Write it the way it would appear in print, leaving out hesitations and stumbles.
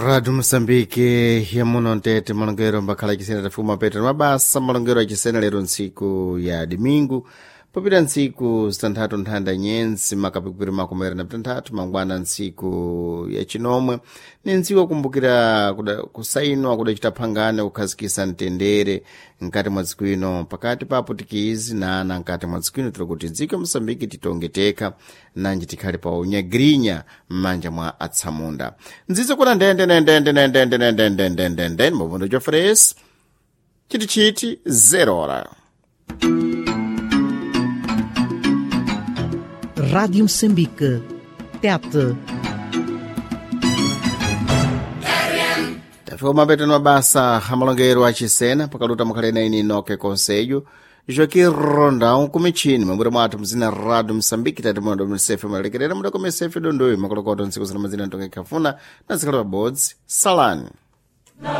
Rádio Moçambique yamuno ntete malongero mbakhala achisena tafuma petro mabasa malongero achisena lero ntsiku ya domingo popita ntsiku zitanthatu nthanda nyenzi makapikupiri makomera na pitanthatu mangwana ntsiku ya chinomwe ni ntsiku akumbukira kusainwa kudacita phangano kukhazikisa mtendere mkati mwa dziko ino pakati pa aputikizi na ana mkati mwa dziko ino tiri kuti dziko ya moçambique titonge tekha nanji tikhale pa unyagirinya m'manja mwa atsamunda nzizo kuna ndende nendende nendende nendende ndende mavundo jofres chitichiti 0 hora. Rádio Moçambique. Tete. Tafika mapetano mabasa amalongero achisena pakaluta mukhalena ini noke conselho Joaquim Rondão kumichini mabura mwathu mzina Rádio Moçambique tati mondo msefe malekerera muda kumesefe dondoyo makolokoto ntsiku zina mazina ntonge khafuna na zikhala pabodzi salani.